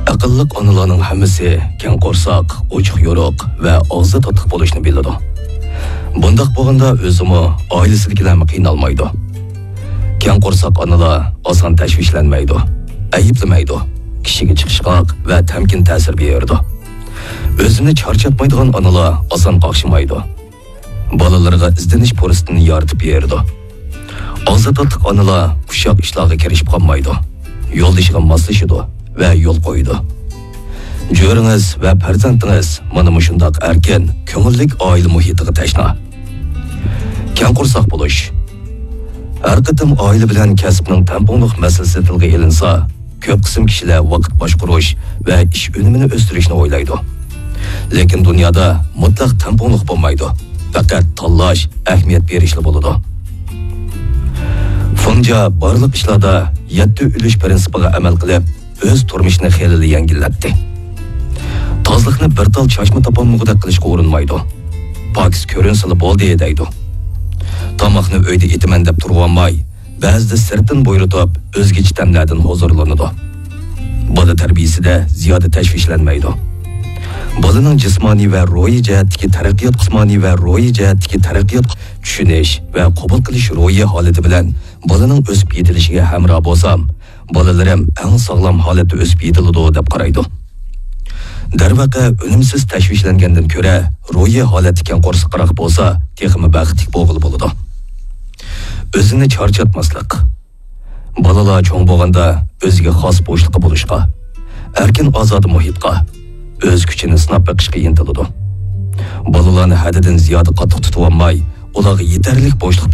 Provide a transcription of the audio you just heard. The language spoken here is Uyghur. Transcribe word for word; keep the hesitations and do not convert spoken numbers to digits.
ئەقىللىق ئانىلارنىڭ ھەممىسى كەڭ قورساق، ئوچۇق يورۇق ۋە ئاغزى تاتلىق بولۇشنى بىلىدۇ. بۇنداق بولغاندا ئۆزىمۇ، ئائىلىسىدىكىلەرمۇ قىينالمايدۇ. كەڭ قورساق ئانىلار ئاسان تەشۋىشلەنمەيدۇ، ئەيىبلىمەيدۇ، كىشىگە چىقىشقاق ۋە تەمكىن تەسىر بېرىدۇ. ئۆزىنى چارچاتمايدىغان ئانىلار ئاسان قاقشىمايدۇ. بالىلىرىغا ئىزدىنىش پۇرسىتىنى يارىتىپ بېرىدۇ. ئاغزى تاتلىق ئانىلار ئۇششاق ئىشلارغا كىرىشىپ قالمايدۇ، يولدىشىغا ماسلىشىدۇ ۋە يول قويىدۇ. جۆرىڭىز ۋە پەرزەنتىڭىز مانا مۇشۇنداق ئەركىن، كۆڭۈللۈك ئائىلە مۇھىتىغا تەشنا. كەڭ قورساق بولۇش. ھەر قېتىم ئائىلە بىلەن كەسىپنىڭ تەڭپۇڭلۇق مەسىلىسى تىلغا ئېلىنسا، كۆپ قىسىم كىشىلەر ۋاقىت باشقۇرۇش ۋە ئىش ئۈنۈمىنى ئۆستۈرۈشنى ئويلايدۇ. لېكىن دۇنيادا مۇتلەق تەڭپۇڭلۇق بولمايدۇ. پەقەت تاللاش، ئەھمىيەت بېرىشلا بولىدۇ. فېڭجيا بارلىق ئىشلاردا يەتتە ئۈلۈش پىرىنسىپىغا ئەمەل قىلىپ، ئۆز تۇرمۇشىنى خېلىلا يەڭگىللەتتى. تازىلىقنى بىر تال چاچما تاپالمىغۇدەك قىلىشقا ئۇرۇنمايدۇ. پاكىز كۆرۈنسىلا بولدى، دەيدۇ. تاماقنى ئۆيدە ئېتىمەن دەپ تۇرۇۋالماي، بەزىدە سىرتتىن بۇيرۇتۇپ، ئۆزگىچە تەملەردىن ھۇزۇرلىنىدۇ. بالا تەربىيىسىدە زىيادە تەشۋىشلەنمەيدۇ. بالىنىڭ جىسمانىي ۋە روھىي جەھەتتىكى تەرەققىيات، جىسمانىي ۋە روھىي جەھەتتىكى تەرەققىيات، چۈشىنىش ۋە قوبۇل قىلىش روھىي ھالىتى بىلەن بالىنىڭ ئۆسۈپ يېتىلىشىگە ھەمراھ بولسام، بالىلىرىم ئەڭ ساغلام ھالەتتە ئۆسۈپ يېتىلىدۇ، دەپ قارايدۇ. دەرۋەقە، ئۈنۈمسىز تەشۋىشلەنگەندىن كۆرە، روھىي ھالەتتە كەڭ قورسىقىراق بولسا، تېخىمۇ بەختلىك بولغىلى بولىدۇ. ئۆزىنى چارچاتماسلىق. بالىلار چوڭ بولغاندا ئۆزىگە خاس بوشلۇقى بولۇشقا، ئەركىن ئازادە مۇھىتقا، ئۆز كۈچىنى سىناپ بېقىشقا ئىنتىلىدۇ. بالىلارنى ھەددىدىن زىيادە قاتتىق تۇتۇۋالماي، ئۇلارغا يېتەرلىك بوشلۇق